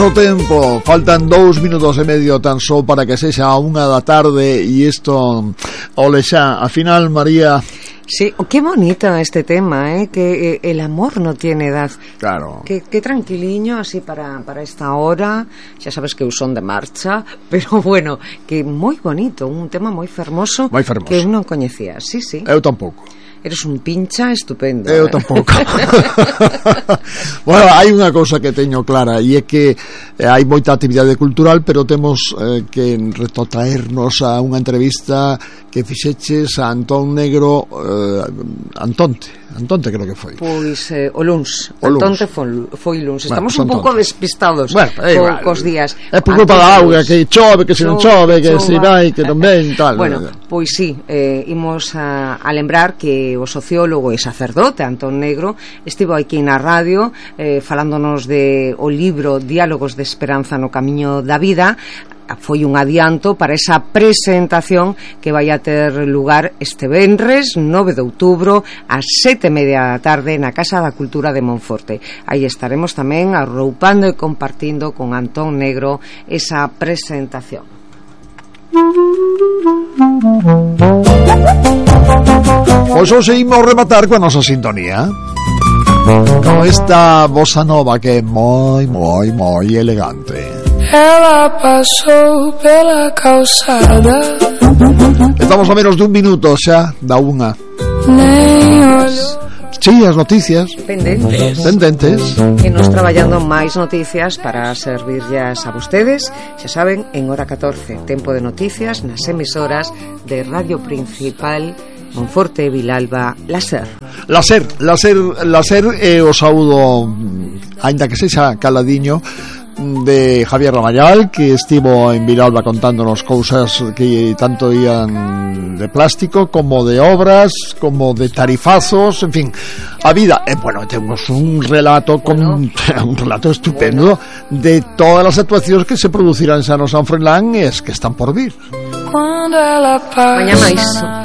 O tempo, faltan 2 minutos e medio tan só para que sexa a 1 da tarde e isto ole xa, a final, María. Sí, qué bonito este tema, que el amor no tiene edad. Claro. Qué tranquiliño así para esta hora. Ya sabes que son de marcha, pero bueno, que moi bonito, un tema moi fermoso, que eu non coñecía. Sí, sí. Eu tampouco. Eres un pincha estupendo. Eu tampouco. Bueno, hai unha cousa que teño clara e é que hai moita actividade cultural, pero temos que retrotraernos a unha entrevista que fixeches a Antón Negro, Antonte creo que foi. Pois o luns. Antonte foi luns. Estamos un pouco despistados cos días. É por culpa da auga, que chove, que se non chove, que se vai, que non ven, tal. Bueno, pois sí, imos a lembrar que o sociólogo e sacerdote Antón Negro estivo aquí na radio falándonos de o libro Diálogos de Esperanza no Camiño da Vida. Foi un adianto para esa presentación que vai a ter lugar este venres 9 de outubro ás 7:30 da tarde na Casa da Cultura de Monforte. Aí estaremos tamén arroupando e compartindo con Antón Negro esa presentación. Pois hoxe imos rematar coa nosa sintonía con esta bossa nova que é moi elegante. Ela pasou pela calçada. Estamos a menos dun minuto xa da 1. Sí, as noticias pendentes. E nos traballando máis noticias para servirllas a vostedes. Xa saben, en hora 14 tempo de noticias nas emisoras de Radio Principal Monforte, Vilalba, Laser e o saúdo, aínda que sexa caladiño, de Javier Ramayal, que estivo en Vilalba contándonos cousas que tanto ían de plástico como de obras, como de tarifazos, en fin, a vida. Bueno, temos un relato un relato estupendo de todas as actuacións que se producirán xa no San Froilán e es que están por vir. Mañá máis.